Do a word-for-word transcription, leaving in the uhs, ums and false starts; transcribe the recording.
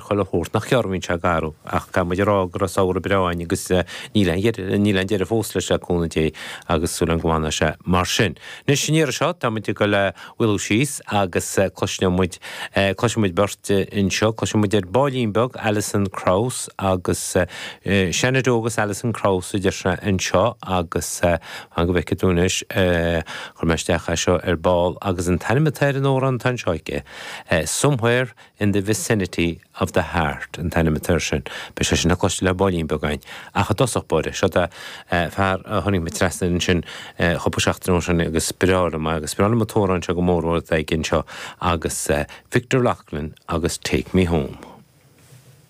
Chuile shórt nach gearr a bhíonn sé garbh ach caithfidh muid a rá go raibh samhradh breá againn agus níl aon dheireadh níl aon deireadh fós leis le cúnamh Dé agus súil agam go bhfanfaidh sé mar sin. Anois an iarraidh seo tá muid ag dul a mhaolú síos agus cloisfidh muid cloisfidh muid beirt anseo cloisfidh muid ar baillín beag Alison Krauss agus Shenandoah agus Alison Krauss a deir sé anseo agus fan go bhfeicfidh tú anois chuir mé isteach é seo ar ball agus an t-ainm atá ar an amhrán atá anseo aici Somewhere in the Vicinity of the Heart an t-ainm atá air sin. Beidh sé sin le cloisteáil ar baillín beag againn. Ach i dtosach báire, seo é fear a tháinig mé trasna air ansin cúpla seachtain ó shin agus is breá liom é agus is breá liom an t-amhrán seo go mór mhór atá aige anseo agus Victor Loughlin agus Take Me Home.